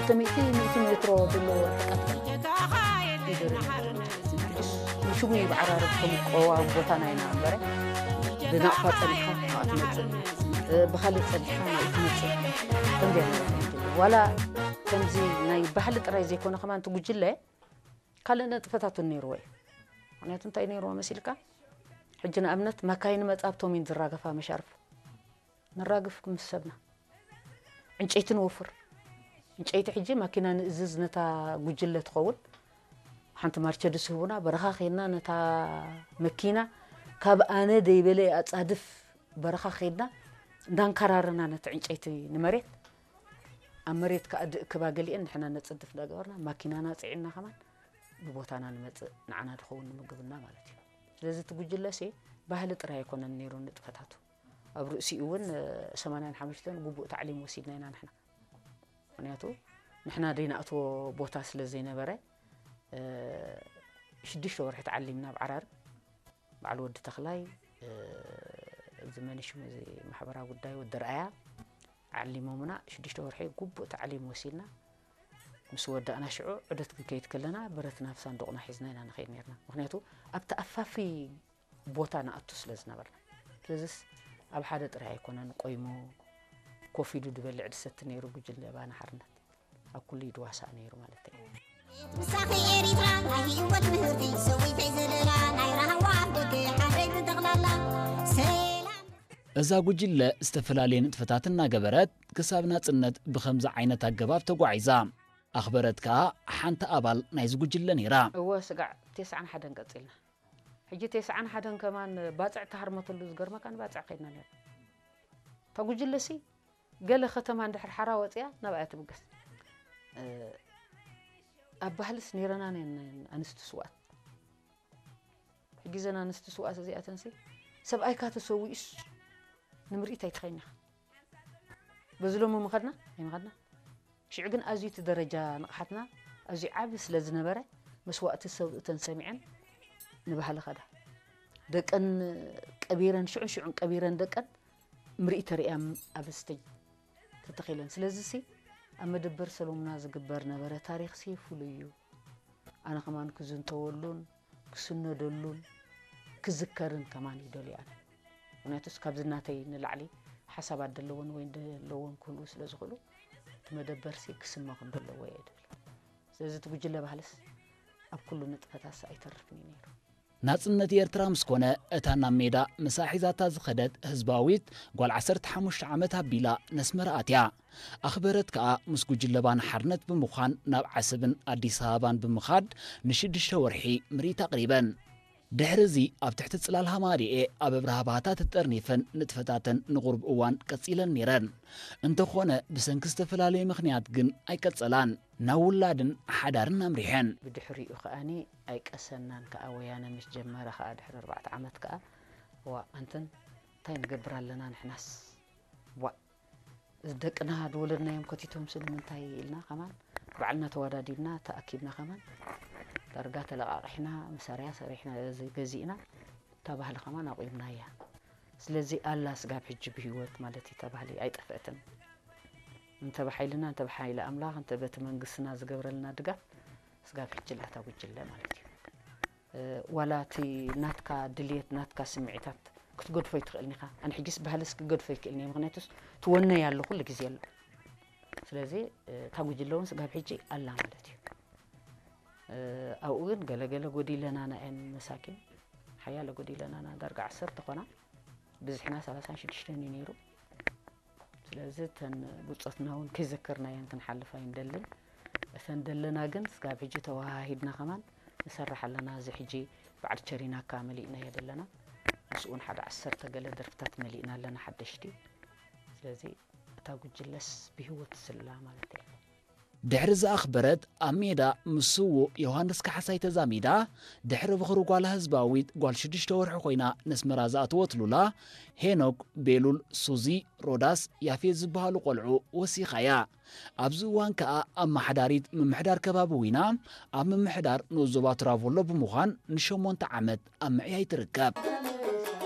ክልተ ሚእቲ ሚእቲ ሜትሮ ዘሎ ርሕቀት እዩ። ንሽሙ እዩ ብዓራርብ ከም ቆዋም ቦታና ኢና እምበረ፣ ብናቕፋ ጸኒሕካ ናብኣ ትመጽእ፣ ብኻልእ ጸኒሕካ ናብኡ ትመጽእ። ከምዚኣ ነይራ። ዋላ ከምዚ ናይ ባህሊ ጥራይ ዘይኮነ ከማን እቲ ጉጅለ ካልእ ነጥፈታት እውን ነይርዎ እዩ። ምኽንያቱ እንታይ ነይርዎ መሲልካ? ሕጂ ንኣብነት መካይን መጻ ኣብቶም እየን ዝራገፋ መሻርፍ። ንራግፍ ምስ ሰብና። ዕንጨይቲ ንወፍር። ዕንጨይቲ ሕጂ ማኪና ንእዝዝ ነታ ጉጅለ ትኸውን። ሓንቲ ማርቸድስ ህቡና፣ በረኻ ኸይድና ነታ መኪና ካብ ኣነ ደይበለ ኣጻድፍ በረኻ ኸይድና እንዳንከራረና ነቲ ዕንጨይቲ ንመሬት፣ ኣብ መሬት ከኣ ድእክባ ገሊአን ንሕና ነጽድፍ እንዳገበርና ማኪናና ጽዒና ከማን ብቦታና ንመጽእ ንዓና ድኸውን ንምግብና ማለት እዩ። ስለዚ እቲ ጉጅለሲ ባህሊ ጥራይ ኣይኮነን ነይሩ ንጥፈታቱ። ኣብ ርእሲኡ እውን ሰማንያን ሓሙሽተን ግቡእ ታዕሊም ወሲድና ኢና ንሕና። ምኽንያቱ ንሕና ደይናእትዎ ቦታ ስለ ዘይነበረ ሽዱሽተ ወርሒ ተዓሊምና ኣብ ዓራርብ። በዓል ወዲ ተኽላይ፣ እዚ መን ሽሙ፣ እዚ ማሕበራዊ ጉዳይ ወዲ ርኣያ ዓሊሞምና። ሽዱሽተ ወርሒ ግቡእ ታዕሊም ወሲድና ምስ ወዳእና ሽዑ ዑደት ክንከይድ ከለና ብረትና ኣብ ሳንዱቕና ሒዝና ኢና ንኸይድ ነርና። ምኽንያቱ ኣብቲ ኣፋፊ ቦታ ንኣቱ ስለ ዝነበርና። ስለዚስ ኣብ ሓደ ጥራይ ኣይኮነን ቆይሙ ኮፍ ኢሉ ዝበልዕ ድሰቲ ነይሩ ጉጅለ ባና ሓርነት። ኣብ ኩሉ ይድዋሳእ ነይሩ ማለት እዩ። ምሳኺ ኤሪትራ ናይ ህይወት ምህርቲ ሰዊተይ ዘለላ ናይ ራህዋ ኣፍደገ ሓረግ ጠቕላላ ሰላም። እዛ ጉጅለ ዝተፈላለየ ንጥፈታት እናገበረት ክሳብ ናጽነት ብኸምዚ ዓይነት ኣገባብ ተጓዒዛ። ኣኽበረት ከኣ ሓንቲ ኣባል ናይዚ ጉጅለ ነይራ። እወ ስጋዕ ተስዓን ሓደን ቀጺልና። ሕጂ ተስዓን ሓደን ከማን ባጽዕ ተሃርመተሉ ዝገርመካ ንባጽዕ ከይድና ነርና። እታ ጉጅለሲ ገለ ከተማ እንድሕር ሓራ ወጺኣ ናብኣ እያ ትብገስ። እ፣ ኣብ ባህልስ ነይረና ነን ኣንስቲ ስውኣት። ሕጂ እዘን ኣንስቲ ስውኣት እዚኣተንሲ ሰብኣይካ ተሰዊኡስ ንምርኢት ኣይትኸይድን ኢኻ። በዚ ሎሚ ምኸድና ኣይምኸድና። ሽዑ ግን ኣዝዩ እቲ ደረጃ ንቕሓትና ኣዝዩ ዓቢ ስለ ዝነበረ መስዋእቲ ሰብኡተን ሰሚዐን ንባህሊ ኸዳ። ደቀን ቀቢረን ሽዑን ሽዑን ቀቢረን ደቀን ምርኢት ተርእያ ኣብ ስቴጅ ተተኺለን። ስለዚሲ ኣብ መደበር ሰሎሙና ዝግበር ነበረ ታሪኽሲ ፍሉይ እዩ። ኣነ ከማን ክዝንተወሉን ክስነደሉን ክዝከርን ከማን ይደልዩ ኣነ። ምኽንያቱስ ካብዚ ናተይ ንላዕሊ ሓሳባት ደለዎን ወይ ደለዎን ክህልዉ ስለ ዝኽእሉ እቲ መደበርሲ ክስመ ከም ዘለዎ እየ ድብል። ስለዚ እቲ ጉጅለ ባህልስ ኣብ ኩሉ ንጥፈታትስ ኣይተርፍን እዩ ነይሩ። ናጽነት ኤርትራ ምስ ኮነ፣ እታ ናብ ሜዳ ምሳ ሒዛታ ዝኸደት ህዝባዊት ጓል ዓሰርተ ሓሙሽተ ዓመት ኣቢላ ነስመራ ኣትያ። ኣኽበረት ከኣ ምስ ጉጅለ ባና ሓርነት ብምዃን ናብ ዓሰብን ኣዲስ ኣበባን ብምኻድ ንሽዱሽተ ወርሒ ምርኢት ኣቕሪበን። ድሕሪ እዚ ኣብ ትሕቲ ጽላል ሃማሪኤ ኣብ ኣብርሃ ባህታ ተጠርኒፈን ንጥፈታተን ንቑሩብ እዋን ቀጺለን ነይረን። እንተኾነ ብሰንኪ ዝተፈላለየ ምኽንያት ግን ኣይቀጸላን። ናብ ውላድን ሓዳርን ኣምሪሐን። ብድሕሪኡ ከኣኒ ኣይቀሰናን ከኣ ወያነ ምስ ጀመረ ከኣ ድሕሪ ኣርባዕተ ዓመት ከኣ ዋ ኣንትን እንታይ ንገብር ኣለና ንሕናስ ዋ እዚ ደቅና ዝወለድናዮም ከቲቶም ስለ ምንታይ ኢልና ከማን ባዕልና ተዋዳዲብና ተኣኪብና ከማን ዳርጋ ተለቓቒሕና መሳርያ ሰሪሕና እዚ ገዚእና እታ ባህሊ ከማን ኣቑምናያ። ስለዚ ኣላ ስጋብ ሕጂ ብህይወት ማለት እዩ እታ ባህሊ ኣይጠፍአትን። እንተ ብሓይልና እንተ ብሓይሊ ኣምላኽ እንተ በቲ መንግስትና ዝገብረልና ድጋፍ ስጋብ ሕጂ ኣላ እታ ጉጅለ ማለት እዩ። ዋላ እቲ ናትካ ድልየት ናትካ ስምዒታት ክትገድፎ ኣይትኽእልን ኢኻ። ኣነ ሕጂስ ባህልስ ክገድፎ ኣይክእልን እየ ምኽንያቱስ ትወነይ ኣሎ ኩሉ ግዜ ኣሎ። ስለዚ እታ ጉጅለ እውን ስጋብ ሕጂ ኣላ ማለት እዩ። ኣብኡ ግን ገለገለ ጎዲለናና እየን መሳኪን ሓያለ ጎዲለናና ዳርጋ ዓሰርተ ኮና ብዝሕና ሰላሳን ሽዱሽተን እዩ ነይሩ። ስለዚ እተን ብጾትና እውን ከይዘከርናየን ክንሓልፍ ኣይንደልን። እተን ደለና ግን ስጋብ ሕጂ ተወሃሂድና ከማን ንሰርሕ ኣለና። እዚ ሕጂ በዓል ቸሪናካ መሊእናዮ ዘለና ምስኡ እውን ሓደ ዓሰርተ ገለ ደርፍታት መሊእና ኣለና ሓደሽቲ። ስለዚ እታ ጉጅለስ ብህይወት ስላ ማለት እየ። ድሕሪ ዝኣኽበረት ኣብ ሜዳ ምስ ስዉእ ዮሃንስ ካሕሳይ ተዛሚዳ ድሕሪ ብኽሪ ጓላ ህዝባዊት ጓል ሽዱሽተ ወርሒ ኮይና ነስመራ ዝኣተወት ሉላ ሄኖክ፣ ቤሉል፣ ሱዚ፣ ሮዳስ፣ ያፌት ዝበሃሉ ቆልዑ ወሲኻያ። ኣብዚ እዋን ከኣ ኣመሓዳሪት ምምሕዳር ከባቢ ዊና ኣብ ምምሕዳር ንኡስ ዞባ ትራቮሎ ብምዃን ንሸሞንተ ዓመት ኣብ ምዕያይ ትርከብ።